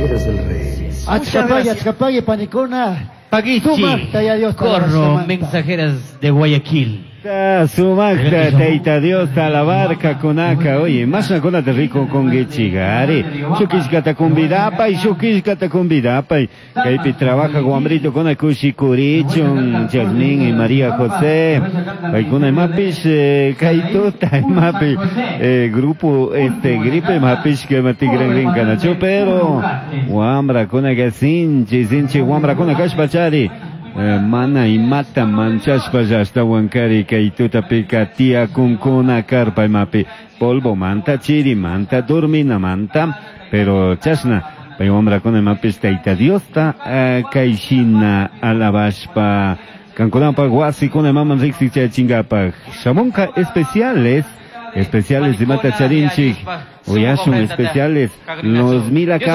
Mensajeros del Rey. Achkapagi, achkapagi, panikuna. Paguichi, Sumaqta ya Dios corro, mensajeras de Guayaquil. Sumaqta Tayta Diosta alabarka kunaka, oye, mashnakunata rico kunkichik, ari, shuk killkata convidapay, shuk killkata convidapay, kaypi trabaja wambrito kuna kushikurichun, Jasmín y María José, paykuna imapish, kay tuta imapi, grupo este gripe imapish que tigranrinkanachu, pero wambrakunaka sinchi, sinchi wambrakuna kashpachari, mana imata manchashpa ashtawan kari kay tutapika tiyakunkuna karpa imapi polvo manta chiri manta dormina manta, pero chashna pay wambrakuna imapish Tayta Diosta, kay shina alabashpa kankunapak wasikuna imaman riksichachinkapak shamunka especiales, especiales imata charinchik, uyashun especiales, los mil acá.